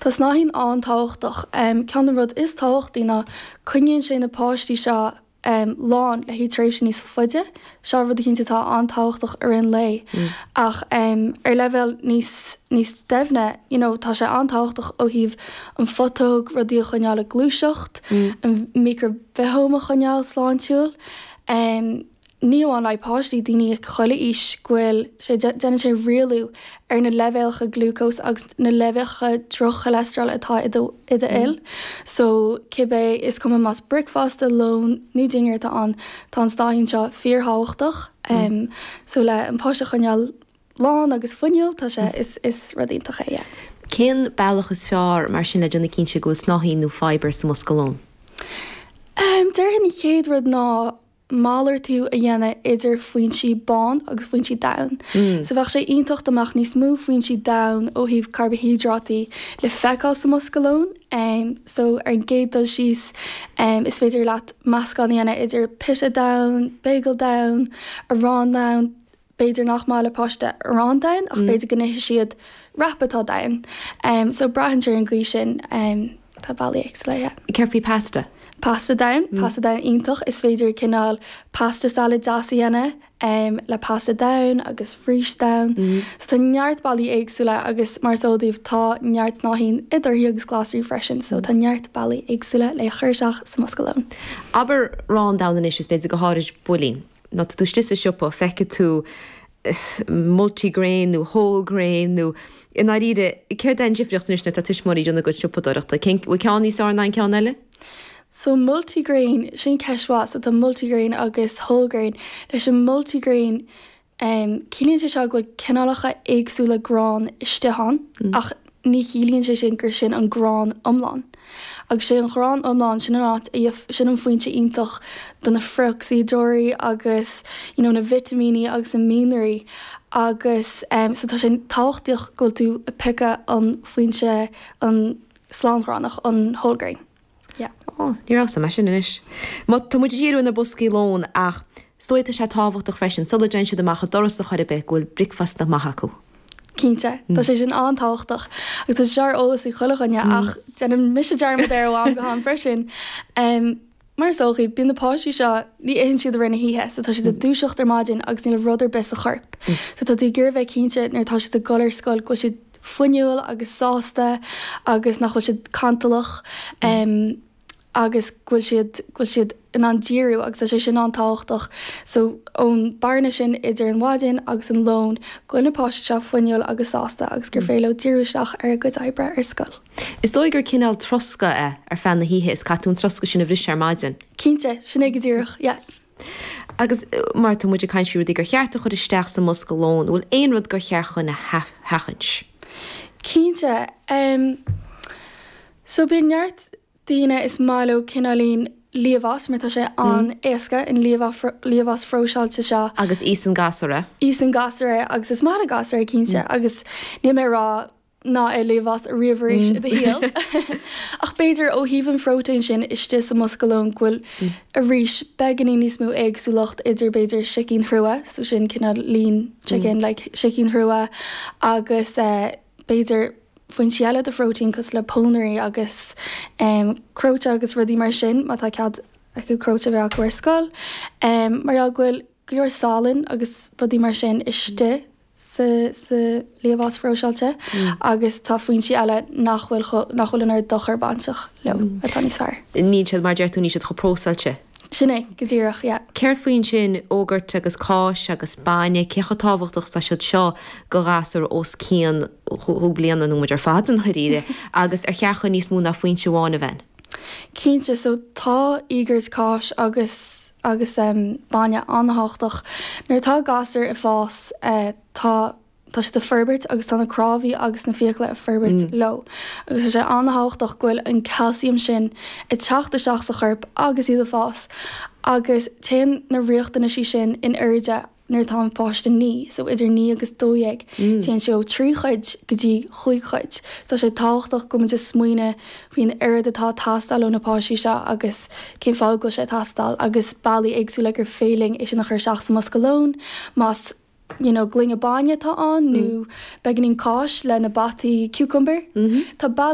Tá snáithín an-tábhachtach. Ceann den rud is tábhachtaí ná coinníonn sé na páistí seo lán le haghaidh tréimhse níos faide. Seo rud eicínt atá an-tábhachtach i rith an lae. Ach ar leibhéal níos níos doimhne, you know, tá sé an-tábhachtach ó thaobh an phutóg, rudaí a choinneáil ag gluaiseacht, an micribhithóm a choinneáil sláintiúil. Ní amháin le haghaidh páistí, daoine chuile aois, go bhfuil sé, déanann sé rialú ar na leibhéalacha glúcóis agus na leibhéalacha droch-cholesterol atá i do i do fhuil. So, cibé, is cuma más bricfeasta, lón nó dinnéar atá ann, tá an snáithín seo fíorthábhachtach. So, le an páiste a choinneáil lán agus fuinniúil, tá sé, is, is rud iontach é, yeah. Cén bealach is fearr mar sin le déanamh cinnte go bhfuil snáithín nó fibre sa mbosca lóin? Déarfainn an chéad rud ná malartú a dhéanamh idir foinsí bán agus foinsí donn. So bheadh sé iontach dá mbeadh níos mó foinsí donn ó thaobh carbaihiodráití le feiceáil sa mbosca lóin. So ar an gcéad dul síos is féidir leat meascán a dhéanamh idir pita donn, bagel donn, arán donn, B'fhéidir nach maith le páiste arán donn ach b'fhéidir go n-ithfidh siad wrap atá donn. So braitheann sé ar an gcaoi sin. Tá bealaí éagsúla, yeah. Céard faoi pasta? Pasta donn, pasta donn iontach. Is féidir cineál pasta salad deas a dhéanamh le pasta donn agus rís donn. So tá neart bealaí éagsúla agus mar is eol daoibh tá neart snáithín i dtorthaí agus glasraí freisin so tá neart bealaí éagsúla le cur isteach sa mbosca lóin. Abair arán donn anois is b'fhéidir go háirid builín. Nó tá tú istigh sa siopa, feicfidh tú multigrain nó whole grain nó i ndáiríre, céard é an difríocht anois nuair atá tuismitheoirí ag déanamh a gcuid siopadóireachta? Cén, bhfuil ceann níos fearr ná an ceann eile? So multigrain, sin ceist mhaith. So tá multigrain agus whole grain. Leis an multigrain, Ciallaíonn sé seo go bhfuil cineálacha éagsúla grán istigh ann, ach ní chiallaíonn sé sin gur sin an grán iomlán. Agus sé an ghrán iomlán, sin an áit a, sin an foinse iontach do na frith-ocsaídeoirí agus you know na vitimíní agus na mianraí agus so tá sé tábhachtach go bhfuil tú ag piocadh an foinse, an slánghránach, an whole grain. Yeah. Ó, ní raibh a fhios agam é sin anois. Má tá muid ag díriú ar na boscaí lóin ach is dóigh tá sé tábhachtach freisin sula dtéann siad amach an doras ar chor ar bith go bhfuil bricfeasta maith acu. Cinnte, tá sé sin an-tábhachtach agus tá sé seo ar eolas ag chuile dhuine ach déanann mise dearmad air ó am go ham freisin. Mar is eol dhaoibh, bíonn na páistí seo, ní itheann siad i rith na hoíche so tá siad ag dúiseacht ar maidin agus níl rud ar bith sa chorp. So tá tú ag iarraidh bheith cinnte nuair atá siad ag dul ar scoil go bhfuil siad fuinniúil agus sásta agus nach bhfuil siad cantalach agus go bhfuil siad, go bhfuil siad in ann díriú agus tá sé sin an-tábhachtach. So ón bearna sin idir an mhaidin agus an lón, go bhfuil na páistí seo fuinniúil agus sásta agus gur féidir leo díriú isteach ar a gcuid oibre ar scoil. Is dóigh gur cineál troscadh é ar feadh na hoíche is caithfidh tú an troscadh sin a bhriseadh ar maidin. Cinnte, sin é go díreach, yeah. Agus mar tá muid ag caint faoi rudaí gur cheart a chur isteach sa mbosca lóin, an bhfuil aon rud gur cheart dhúinn a sheachaint? Cinnte. So bíonn neart daoine is maith leo cineáilín liamhás mar tá sé an-éasca, an liamhás phróiseáilte seo. Agus íosann gasúir é. Íosann gasúir é agus is maith le gasúir é cinnte agus níl mé ag rá ná ith liamhás ariamh arís i do shaol. Ach b'fhéidir ó thaobh an phróitéin sin istigh sa mbosca lóin go bhfuil arís beagáinín níos mó éagsúlacht idir b'fhéidir sicín chrua, so sin cineál lean chicken like sicín chrua agus b'fhéidir foinsí eile de phróitéin cosúil le pónairí agus cróite agus rudaí mar sin má tá cead acu cróite a bheith acu ar scoil. Mar gheall go bhfuil go leor salainn agus rudaí mar sin istigh sa liamhás phróiseáilte agus tá foinsí eile nach bhfuil nach bhfuil an oiread dochar bainteach leo atá níos fearr. Níl siad, mar a deir tú, níl siad chomh próiseáilte. Sin é, go díreach, yeah. Céard faoi ansin, iógart agus cáis agus bainne, cé chomh tábhachtach is atá siad seo do ghasúr os cionn chúig bliana, nó muid ar fad i ndáiríre, agus ar cheart dhúinn níos mó ná foinse amháin a bheith ann? Cinnte, so tá iógart, cáis agus agus bainne an-tábhachtach. Nuair atá gasúr ag fás tá tá siad ag forbairt agus tá na cnámhaí agus na fiacla ag forbairt leo. Agus tá sé an-tábhachtach go bhfuil an calcium sin ag teacht isteach sa chorp agus iad ag fás agus téann na riachtanaisí sin in airde nuair atá an páiste 9, so idir 9 agus 12, téann sé ó 3 chuid go dtí chúig chuid. So tá sé tábhachtach go bhfuil muid ag smaoineamh faoin oiread atá ag teastáil ó na páistí seo agus cén fáth go bhfuil sé ag teastáil agus bealaí éagsúla gur féidir linn é sin a chur isteach sa mbosca lóin, más you know gloine bainne atá ann nó beagáinín cáis le na bataí cucumber. Tá bealaí.